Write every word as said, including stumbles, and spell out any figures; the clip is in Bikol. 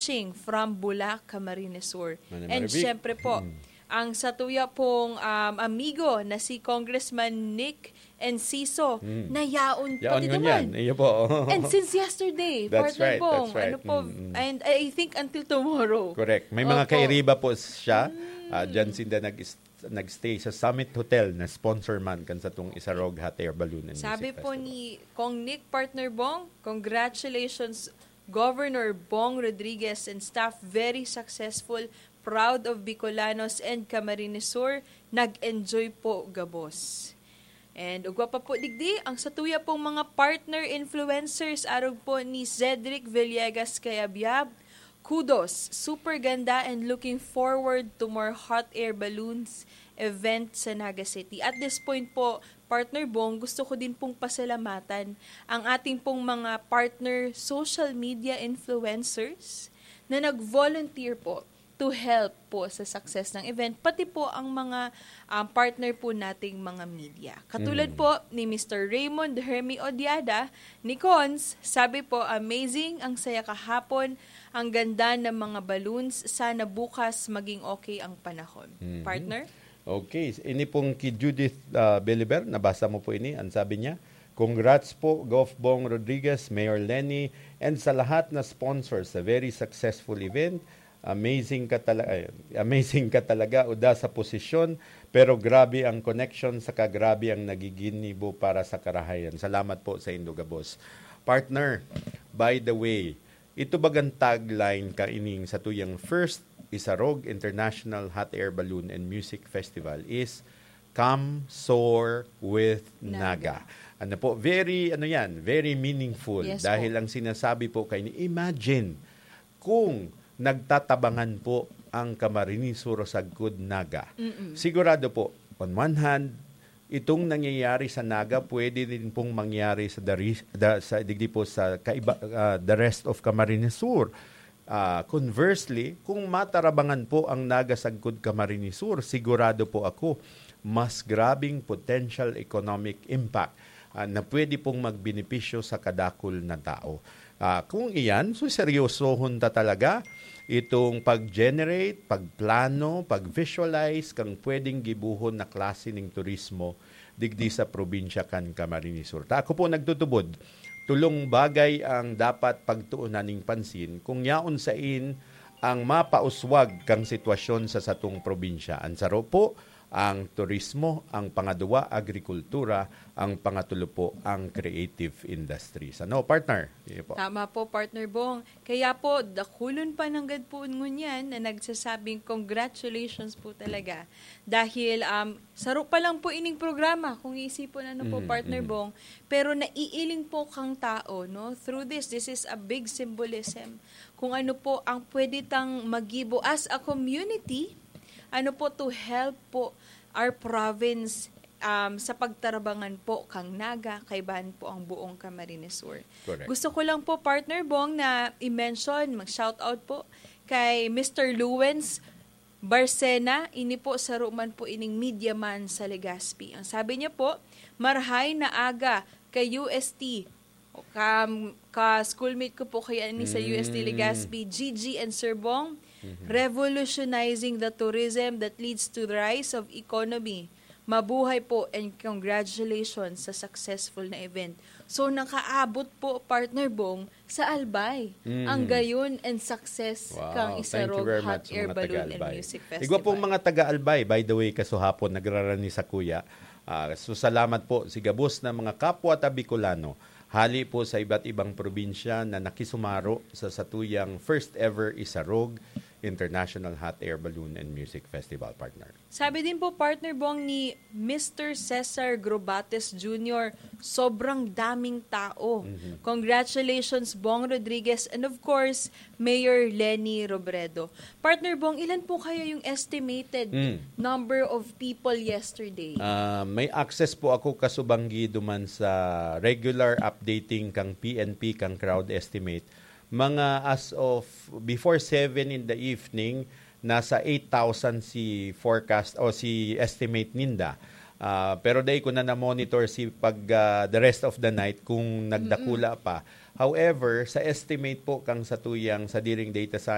watching from Bula, Camarines Sur. Mana And Marivic. Siyempre po, Mm. ang satuya pong, um, amigo na si Congressman Nick Enciso, Mm. na yaon Yaon pati ngunyan. naman. Iyo po. And since yesterday, That's Partner right, Bong, that's right. ano po, Mm, mm. and I think until tomorrow. Correct. May mga Opo. kairiba po siya. Mm. Ah, dyan sinda nag- nag-stay sa Summit Hotel na sponsor man kan satong Isarog Hot Air Balloon and Sabi Music po Festival. ni Kong Nick, Partner Bong, "Congratulations, Governor Bong Rodriguez and staff. Very successful. Proud of Bicolanos and Camarines Sur. Nag-enjoy po gabos." And ugwa pa po digdi, ang satuya pong mga partner influencers, arog po ni Cedric Villegas Cayabyab, "Kudos, super ganda and looking forward to more hot air balloons event sa Naga City." At this point po, Partner Bong, gusto ko din pong pasalamatan ang ating pong mga partner social media influencers na nag-volunteer po to help po sa success ng event, pati po ang mga, um, partner po nating mga media. Katulad Mm. po ni Mister Raymond Hermie Odiada, ni Cons, sabi po, "Amazing, ang saya kahapon, ang ganda ng mga balloons, sana bukas maging okay ang panahon." Mhm. Partner? Okay, ini pong ki Judith, ah, Beliber, nabasa mo po ini, ang sabi niya, "Congrats po, Gov Bong Rodriguez, Mayor Leni, and sa lahat na sponsors sa very successful event. Amazing ka tala-, ay, amazing ka talaga, uda sa posisyon, pero grabe ang connection, saka grabe ang nagiginibo para sa karahayan." Salamat po sa indo gabos. Partner, by the way, ito bagang tagline kaining satuyang first Isarog International Hot Air Balloon and Music Festival is "Come Soar with Naga." Naga. Ano po, very, ano yan, very meaningful. Yes Dahil po. ang sinasabi po kaini, imagine kung nagtatabangan po ang Camarines Sur sagkod Naga. Mm-mm. Sigurado po, on one hand, itong nangyayari sa Naga pwede din pong mangyari sa the re-, the, sa, digdi po sa kaiba, ah, the rest of Camarines Sur. Ah, conversely, kung matarabangan po ang Naga sagkod Camarines Sur, sigurado po ako, mas grabing potential economic impact, ah, na pwede pong magbenepisyo sa kadakul na tao. Ah, kung iyan, so seryosohon ta talaga itong pag-generate, pagplano, pag-visualize kang pwedeng gibohon na klase ning turismo digdi sa probinsya kan Camarines Sur. Ta ako po nagtutubod, tolong bagay ang dapat pagtuunan ning pansin kung yaon sain ang mapauswag kang sitwasyon sa satong probinsya. Ang saro po, ang turismo, ang pangaduwa, agrikultura, ang pangatulo po, ang creative industries. Ano, partner? Iyo po. Tama po, Partner Bong. Kaya po, dakulon pa nanggad po ngunyan na nagsasabing congratulations po talaga. Dahil, um, saro pa lang po ining programa, kung iisipon ano po, Mhm, Partner mhm. Bong, pero naiiling po kang tao, no? Through this, this is a big symbolism. Kung ano po ang pwede tang magibo as a community, ano po, to help po our province, um, sa pagtarabangan po kang Naga, kaibahan po ang buong Camarines Sur. Correct. Gusto ko lang po, Partner Bong, na i-mention, mag-shoutout po kay Mister Lewens Barcena, ini po saro man po ining media man sa Legazpi. Ang sabi niya po, "Marhay na aga kay U S T." Ka, ka-schoolmate ko po kaya ni sa Mm. U S T Legazpi, Gigi and Sir Bong, Mhm. "Revolutionizing the tourism that leads to the rise of economy. Mabuhay po and congratulations sa successful na event." So, nakaabot po, Partner Bong, sa Albay Mm. ang gayon and success Wow, kang thank you Isarog very Hot much sa Air mga Balloon and taga-Albay. Music Igwa pong Festival. mga taga-Albay, by the way, kasuhapon, nagrarani sa kuya. Ah, so, salamat po. Si gabos na mga kapwa ta Bicolano, hali po sa iba't ibang probinsya na nakisumaro sa satuyang first ever Isarog International Hot Air Balloon and Music Festival, partner. Sabi din po, Partner Bong, ni Mister Cesar Grobates Junior, "Sobrang daming tao. Mhm. Congratulations, Bong Rodriguez, and of course, Mayor Leni Robredo." Partner Bong, ilan po kaya yung estimated Mm. number of people yesterday? Ah, may access po ako kasubanggi duman sa regular updating kang P N P, kang crowd estimate. Mga as of before seven in the evening, nasa eight thousand si forecast o si estimate ninda. Ah, pero dai ko na na-monitor si pag, ah, the rest of the night kung nagdakula Mm-mm. pa. However, sa estimate po kang satuyang sadiring data